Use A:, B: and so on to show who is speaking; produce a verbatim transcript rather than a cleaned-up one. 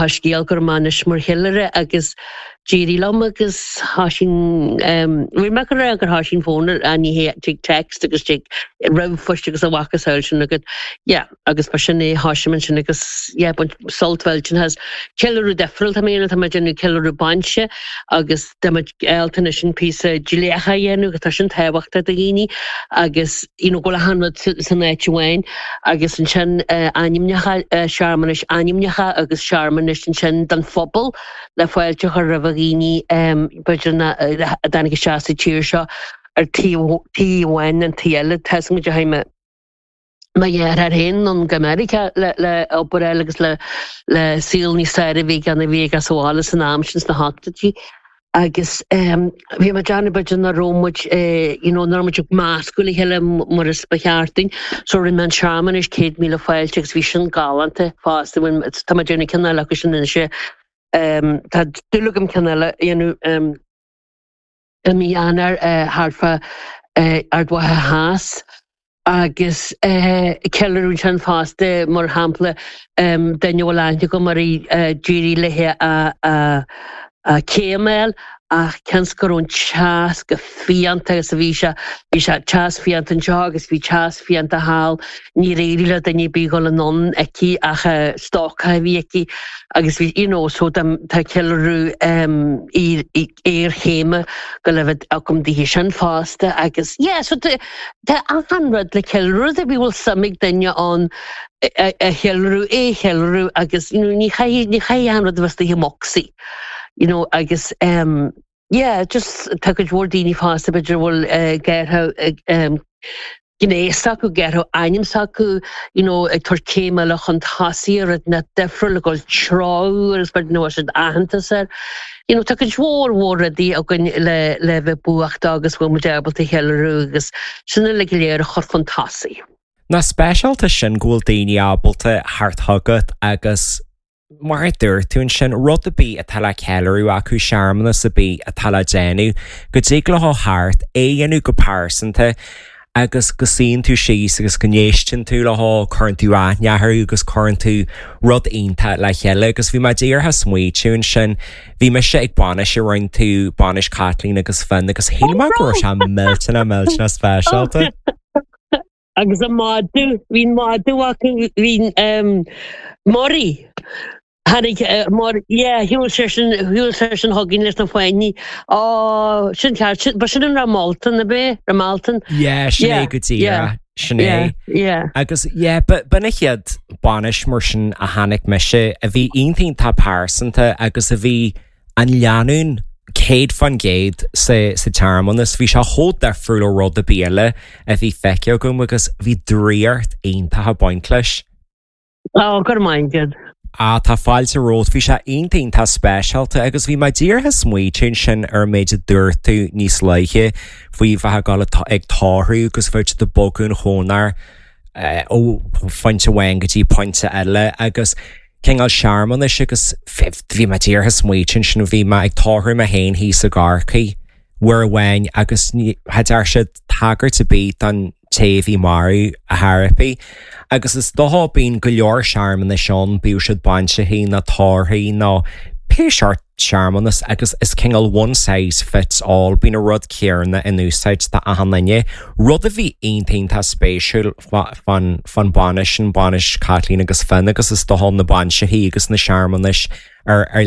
A: Scéal go anois mar cheiliúradh agus d'éirigh liom agus tá sin bhí me go gur tá sin fón an ní tig text agus tig ríomhphost agus a bhacas sin agat yeah agus ba sin é háisiman sin agus yeah sult sin has ceiliúradh difriúil tá mé tá mé déanamh ceiliúradh bainse agus tá sin píosa dleacha dhéanamh tá sin tábhachtach do dhaoine agus you know, go hanrud san áit amháin agus ansin uh, ainmneacha uh, searmanais ainmneacha agus searmanais ansin don phobal le fáilte chur roimh dhaoine um, b'fhéidir a dtáinig isteach sa tír seo ar tí amháin an tí eile tá go haime Ma ar haon an go America le le obair agus le le saol níos fearr a bhí gan a bhí as bhála san am sin sna hochtóidí. Agus um, bhí ma Johnny b'fhéidir nach raibh muid eh, you know, nach raibh muid measctha le chéile mar is ba cheart dúinn, so rinne an searmanas céad míle fáilte agus bhí sin galánta fosta tá déanamh ceann eile sin se um, tá dúil agam ceann eile dhéanamh um, i mí Eanáir uh, thart fá uh, Ard Mhacha Theas agus uh, ceiliúradh sin fosta mar shampla um, duine bhfuil go mar uh, d'éirigh léi a, a, a céimeil ach cens go an teas go fiánta agus a bhí sé bhí sé teas fiánta anseo agus bhí teas fiánta thall ní réirí le duine bí go an aici ach stoca bhí aici agus bhí you know, so tá ceiliúradh um, iarchéime go le agam di sin fosta agus yeah, so tá an rud le ceiliúradh a bhí bhfuil suim ag duine an a cheiliúradh é cheiliúradh agus you know, ní ní chaithfidh an rud a bheith i mbocsaí. You know, agus um, yeah, just tá go bhfuil daoine fosta b'fhéidir bhfuil uh, geartha um, gnéas acu geartha ainm acu you know, ag tabhairt céim eile chun tosaigh rud na difriúil le ggóil trá agus bud nó siad aitheantas air. You know, tá cuid mhór mhór rudaí againn le le bheith buíoch agus bhfuil muid ábalta cheiliúradh agus sin le go léir a chur chun tosaigh.
B: Nach speisialta sin go bhfuil daoine ábalta thart chugat agus mar a dúirt tú sin rud ar bith atá le ceiliúradh acu searmanas ar bith atá le déanamh, go dtig leo theacht é dhéanamh go pearsanta agus go suíonn tú síos agus go n-éisteann tú leo cuireann tú aithne orthu agus cuireann tú rud iontach le chéile agus bhí mé díreach ag smaointiú ansin bhí mise ag bainis a rinne tú bainis Kathleen agus Finn agus shíl mé go raibh sé millteanach millteanach speisialta.
A: Agus an madadh bhín madadh acu bhín um, Murray. Tháinig mar shiúil sé sin shiúil sé sin chugainn leis na fáinní á sin ceart ba sin an Ramalton a bé Ramalton?
B: Yeah, sin é go dtí sin é. Agus yeah, b'in an chéad bainis mar sin a chonaic mise a bhí iontach pearsanta agus a bhí an lánúin céad faoin gcéad sa sa tsearmanas bhí sé chomh difriúil ó rud ar bith eile a bhí feicthe agam agus bhí draíocht iontach ag baint leis.
A: Á gur maith
B: Á tá fáilte romhat bhí sé iontach speisialta agus bhí mé díreach ag smaointiú sin ar an méid a dúirt tú níos luaithe faoi bheith ag ag tórramh agus bheith ag bogadh an chónair ó phointe amháin go dtí pointe eile agus cineál searmanais agus bhí mé díreach ag smaointiú sin bhí mé ag tórramh mé féin thíos i gCorcaigh uair amháin agus cha dearna siad tagairt ar bith don té a bhí marbh a thairpeadh. Agus is dócha bíonn go leor searmanais ann bíodh siad bainseachaí nó tórraimh nó pé seort searmanas agus is cineál one size fits all bíonn an rud céanna in úsáid do achan duine. Rud a bhí iontach spéisiúil fan fan bainis an bainis Kathleen agus Finn agus is dócha na bainseachaí agus na searmanais ar ar